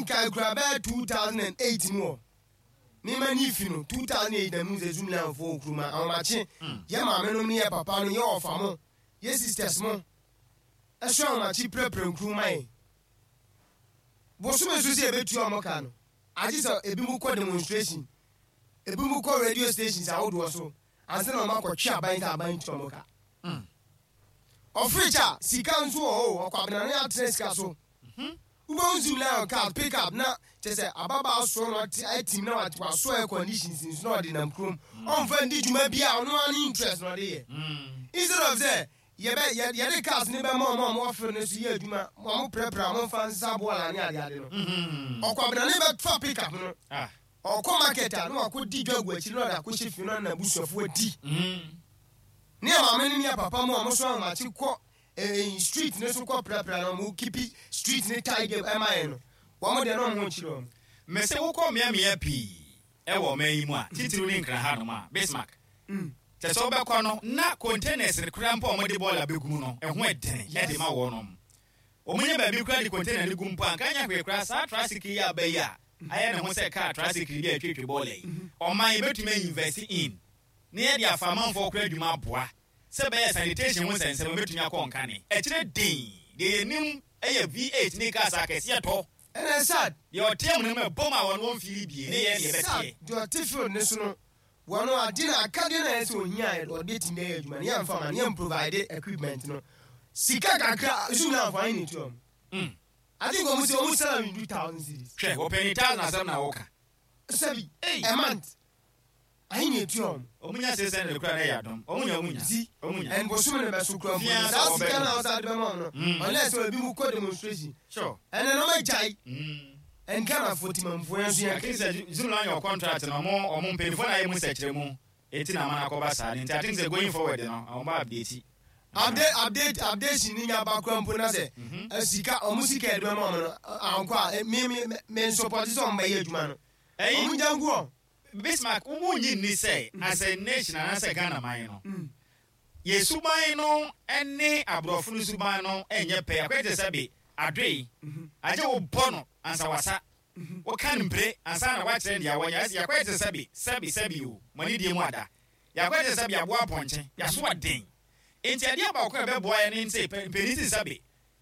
Menkae koraa bɛyɛ 2008 mu hɔ. Me m'ani fi no 2008 na mehu sɛ Zoomlion foɔ wɔ kurom ha. Ahomakye, yɛ maame nom ne yɛ papa nom, yɛ ɔfa mo, yɛ sisters mo, ɛso ahomakye pirapira nkuro ma yɛn. Bosome so sɛ yɛbɛtua wɔn ka no, agye sɛ ebinom kɔ demonstration, ebinom kɔ radio stations ahodoɔ so ansa na wɔn akɔtwe aban sɛ aban ntua wɔn ka. Ɔfrekyɛ a, sika nso wɔ hɔ o, ɔkwabena no atena sika so. Wobɛhu Zoomlion cars, pick up na kyerɛ sɛ ababaa soɔ na ɔte atim na wasɔ air conditions nso na ɔde nam kurom. Ɔmfa ndi dwuma bi a ɔno ara ne interest na ɔde yɛ. Instead of sɛ yɛbɛ yɛ yɛde cars no bɛma wɔn a wɔwɔ field no so yɛ adwuma, wɔn prɛprɛ a wɔmfa nsesa bɔɔla ne adeade no. Ɔkwabena ne bɛfa pick up no, ɔkɔ market a na wakɔdi dwa agu akyiri na ɔde akɔhyɛ fie na ɔne n'abusuafoɔ adi. Ne yɛ maame no ne yɛ papa mu a wɔso ahomakye kɔ eh, street no so kɔ prapra na wɔn kipi street no tidy ɛma yɛn no, wɔn deɛ na wɔn ho nkyerɛ wɔn. Mese wokɔ mmeammea pii wɔ ɔman yi mu a, titiriw ne Nkran hanom a, Bismarck, kyerɛ sɛ wobɛkɔ no na containers no koraa mpo a wɔde bɔɔla bɛgu mu no, ɛho ɛdene de ma wɔnom. Wɔnya baabi koraa de container no gu mpo a, anka anyɛ hwee koraa saa tricycle yi aba yi a ayɛ ne ho sɛ kaa tricycle bi a ɛtwetwe bɔɔla yi, ɔman yɛbɛtumi a invest in na yɛde afa amanfoɔ koraa adwuma aboa sɛ ɛbɛyɛ a sanitation ho nsɛnsɛm bɛtumi akɔ nkane. Ɛkyerɛ den, deɛ yɛnim yɛ V8 ne cars akɛseɛ tɔ. Ɛna sad. Deɛ ɔte amena mu ɛbom a wɔn wɔn feeli bie ne yɛn deɛ Sad, ɛbɛteɛ. deɛ ɔte field no so no, wɔn ade no akadeɛ no a ɛyɛ sɛ ohia a ɔde bɛtumi ayɛ adwuma no yɛmfa ma no, yɛn provide equipment no. Sika kakra, zoom na amfa ahe na ɛtua wɔn? I think wɔn sɛ wɔn salary ndu thousand cedis. Hwɛ, wɔpɛ ne thousand asɛm na woka. Sɛbi, Ei! a month. Ahe na etua wɔn? Wɔn nya sese no de kura na ɛyɛ adom. Wɔn nya, wɔn nya. See, Wɔn nya. and bosome no bɛso kura mpo Fia no, sɛ saa wɔbɛ sika no. no a wɔsan de bɛma wɔn no, unless sɛ ebi mu kɔ demonstration. Ɛnɛ no wɔagyae. And Ghanafoɔ, Timamufoɔ, yɛn nso yɛn. I think sɛ Zulu anyɛ contract no, wɔn, wɔn mpanyinfoɔ na ayɛ mu nsɛkyerɛmu, eti na ama no akɔba saa no. Nti I think sɛ going forward no, wɔn bɛ update. Update, update, updation ni nya ba kura mpo na sɛ, sika, wɔn sika yɛde bɛma wɔn no, ankɔ a, me, me, me nsupɔte sɛ wɔn bɛyɛ adwuma no. Ɛyi. Wɔn gya ngu wɔn. Bismarck, wo nnye nni sɛ as a nation anaasɛ Ghana man no, yɛn suban no ne aborɔfo no suban no nyɛ pɛ? Akɔyɛ te sɛ be adoe, agye wo bɔ no ansa wasa, woka no mpire ansa na woakyerɛ no deɛ wɔnyɛ. Ayɛ sɛ yɛakɔyɛ te sɛ be, sɛbe, sɛbe o, mo ani die mu ada. Yɛakɔyɛ te sɛ be aboa apɔnkye, yɛaso ɔden. Enti adeɛ baako a ɛbɛboa yɛn ne sɛ mpanin se sɛbe,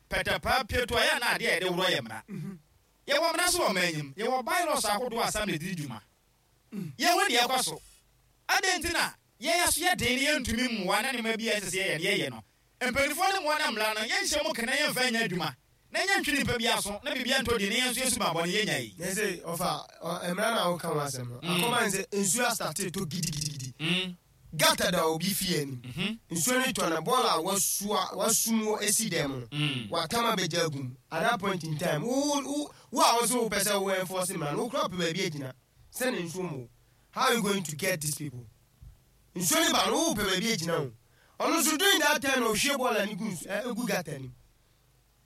pɛtɛpaa, pieto a ɛyɛ a na adeɛ a yɛde worɔ yɛ mmara. Yɛwɔ mmara nso wɔ ɔman yi mu. Yɛwɔ bylaws ahodoɔ a assembly de di dwuma. Yɛnhu deɛ ɛrekɔ so. Adɛn nti na yɛn aso yɛ den na yɛntumi mmoa na nneɛma bi a ɛsɛ sɛ yɛyɛ no yɛyɛ no? Mpanimfoɔ no mmoa na mmara no yɛnhyɛ mu kena yɛmfa nyɛ adwuma na yɛntwe nnipa bi aso na biribiara ntɔ din na yɛn nso yɛn suban bɔne yɛnya yi. Na ɛsɛ ɔfa mmara no a woka ho asɛm no akɔma ne sɛ nsuo astate tɔ gidigidigidi. Gutter da obi fie anim. Nsuo no tɔ na bɔɔla a wasua wasum wɔ esi dan mu no, watam abɛgya agu mu. At that point in time, wo wo wo a wo nso wopɛ sɛ wo enforce mmara no, wo koraa wopɛ baabi agyina sɛ ne nsuo mmɔ wo. How are you going to get these people? Nsuo no ba no, wopɛ baabi agyina o. Ɔno nso during that time na ɔhwie bɔɔla no gu nsu ɛ egu gutter no mu.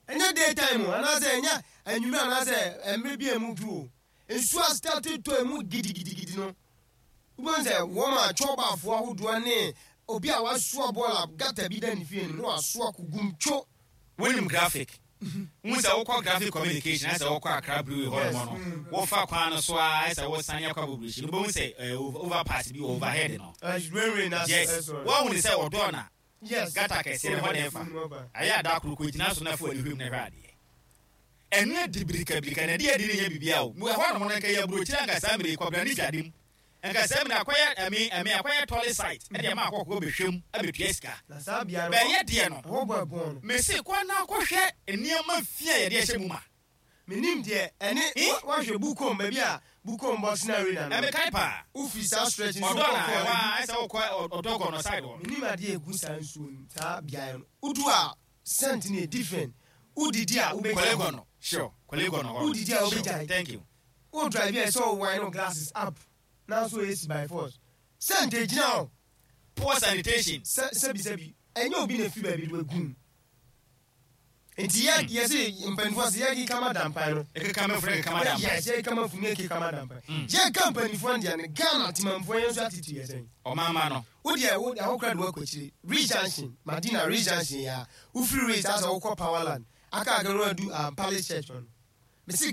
Ɛnyɛ day time o, anaasɛ ɛnyɛ anwummerɛ anaasɛ mmerɛ bi a emu dwo o. Nsuo astate tɔ emu gidigidigidi no, Wobɛhu sɛ wɔn a kyɔɔbafoɔ ahodoɔ ne obi a wasoa bɔɔla gata bi da ne fie anim na wasoa kɔgum two. Wonim graphic? Wohu sɛ wokɔ graphic communication ayɛ sɛ wokɔ Accra Brewery hɔ nom no, wofa kwan no so ara ayɛ sɛ wosane akɔ Abobirihyi no, wobɛhu sɛ eh, overpass bi wɔ overhead no. Railway no Yes, woahu no sɛ ɔdɔɔ na gutter kɛseɛ no hɔ na ɛfa. Ayɛ a da koro kɔgyina so na fa w'ani hwɛ mu na hwɛ adeɛ. Ɛno adi birikabirika na ɛde adi no nyɛ biribiara o. Ɛhɔ nom no nka ɛyɛ aburokyire anka saa mmerɛ yi Kwabena ne dwade mu. Nka saa mmerɛ akɔyɛ ɛme ɛme akɔyɛ tɔle site ɛde ama akɔkɔ bɛhwɛ mu abɛtua sika. Na saa bea no Bɛyɛ deɛ no. Ɛhɔ bɔ ɛbɔn no. Mese kɔ na kɔhwɛ nneɛma fi a yɛde ahyɛ mu ma. Menim deɛ ɛne Eh? Woahwɛ Bukom baabi a Bukom Boxing Arena no. Ɛmekae paa. Wofiri saa stretch no so Ɔdɔ kɔ na kɔ ɛhɔ ara ayɛ sɛ wokɔ Ɔdɔkɔ no side hɔ no. Menim adeɛ a ɛgu saa nsuo no mu saa beaeɛ no. Wodu a scent no yɛ different. Wodidi a wobɛgyae. Korle Gonno, sure. Korle Gonno hɔ no. Wodidi a Sure. wobɛgyae. Thank you. Wo drive a ɛsɛ sɛ wo wine wo glasses up nanso AC by force. Scent ɛgyina hɔ. Poor sanitation. Sɛ sɛbi sɛbi ɛnyɛ obi na ɛfiri baabi de wagu mu. Nti yɛ yɛ se mpanimfoɔ se yɛ keka ma dampan no. Yɛkeka ma funu keka ma dampan. Yes, yɛ keka ma funu yɛ keka ma dampan. Yɛ ka mpanimfoɔ deɛ no Ghana temamfoɔ yɛn nso attitude yɛ sɛn? Ɔmanma no. Wo deɛ wo deɛ wokora de wakɔ akyire. Ridge Junction, Madina Ridge Junction yɛ a, wofiri Ridge asɛ wokɔ Powerland aka aka no adu Palace Church hɔ no. Mese.